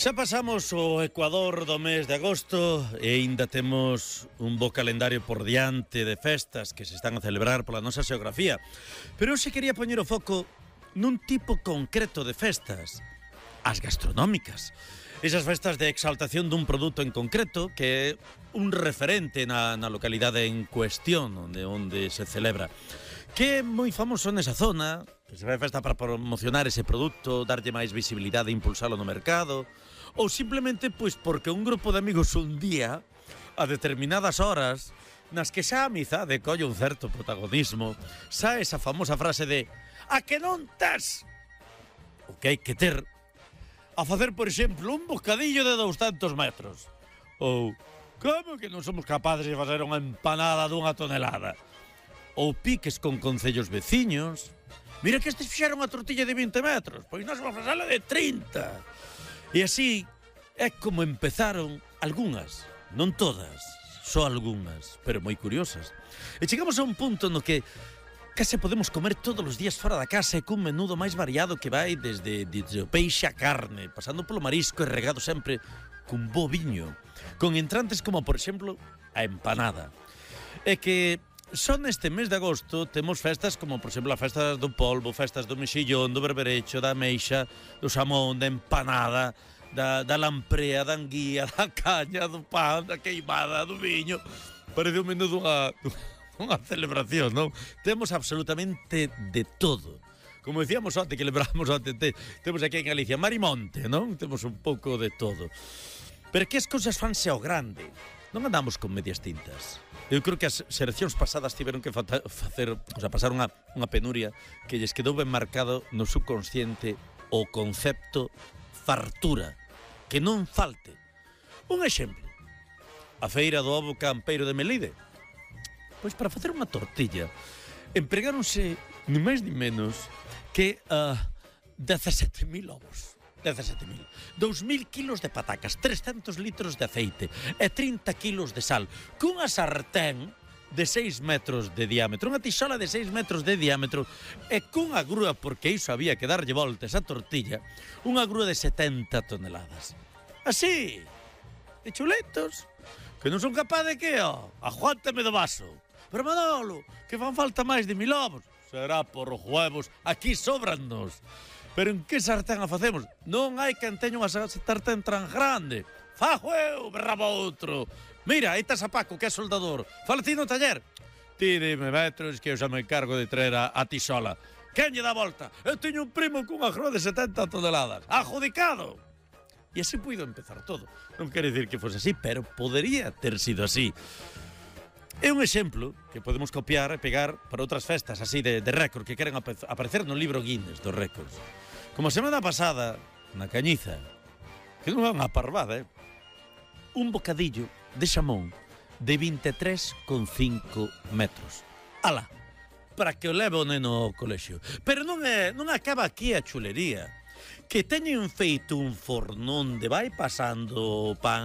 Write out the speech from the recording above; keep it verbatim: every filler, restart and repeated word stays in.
Xa pasamos o Ecuador do mes de agosto e aínda temos un bo calendario por diante de festas que se están a celebrar pola nosa xeografía. Pero hoxe quería poñer o foco nun tipo concreto de festas, as gastronómicas. Esas festas de exaltación dun produto en concreto que é un referente na, na localidade en cuestión onde, onde se celebra, que é moi famoso nesa zona, que se fai festa para promocionar ese produto, darlle máis visibilidade e impulsalo no mercado, ou simplemente pois porque un grupo de amigos un día, a determinadas horas, nas que xa a amizade colle un certo protagonismo, xa esa famosa frase de "a que non tes?" O que hai que ter a facer, por exemplo, un bocadillo de douscentos metros. Ou, como que non somos capaces de facer unha empanada dunha tonelada? Ou piques con concellos veciños. Mira que estes fixeron unha tortilla de vinte metros, pois nós vamos facela de trinta. E así é como empezaron algunhas, non todas, só algunhas, pero moi curiosas. E chegamos a un punto no que case podemos comer todos os días fora da casa e cun menudo máis variado que vai desde, desde o peixe a carne, pasando polo marisco e regado sempre cun bo viño, con entrantes como, por exemplo, a empanada. É que só neste mes de agosto temos festas como, por exemplo, as festas do polvo, festas do mexillón, do berberecho, da ameixa, do xamón, da empanada, da, da lamprea, da anguía, da caña, do pan, da queimada, do viño. Parece un menudo unha, unha celebración, non? Temos absolutamente de todo. Como decíamos antes, que lembramos antes, te, temos aquí en Galicia Marimonte, non? Temos un pouco de todo. Pero que as cousas fanse ao grande. Non andamos con medias tintas. Eu creo que as xeracións pasadas tiveron que facer, o sea, pasar unha, unha penuria que lles quedou ben marcado no subconsciente o concepto fartura, que non falte. Un exemplo, a feira do ovo campeiro de Melide. Pois para facer unha tortilla empregáronse ni máis ni menos que uh, dezasete mil ovos. dezasete mil. dous mil kilos de patacas, trescentos litros de aceite e trinta kilos de sal, cunha sartén de seis metros de diámetro, unha tixola de seis metros de diámetro e cunha grúa, porque iso había que darlle voltas a tortilla, unha grúa de setenta toneladas. Así, de chuletos, que non son capaz de que, ó, aguántame do vaso. Pero Manolo, que fan falta máis de mil ovos. Será por os huevos, aquí sobrannos. Pero en que sartén a facemos? Non hai quen teña unha sartén tan grande. Fajo eu, berraba outro. Mira, aí estás a Paco, que é soldador. Fala ti no taller. Ti dime metros que eu xa me encargo de traer a, a tisola. Quen lle dá volta? Eu teño un primo cunha grúa de setenta toneladas. Adjudicado. E así puido empezar todo. Non quere dicir que fose así, pero podería ter sido así. É un exemplo que podemos copiar e pegar para outras festas así de, de récord que queren ap aparecer no libro Guinness dos récords. Como a semana pasada, na Cañiza, que non é unha parvada, eh? Un bocadillo de xamón de vinte e tres coma cinco metros. Alá, para que o leve o neno ao colexio. Pero non é, non acaba aquí a chulería, que teñen feito un fornón de vai pasando o pan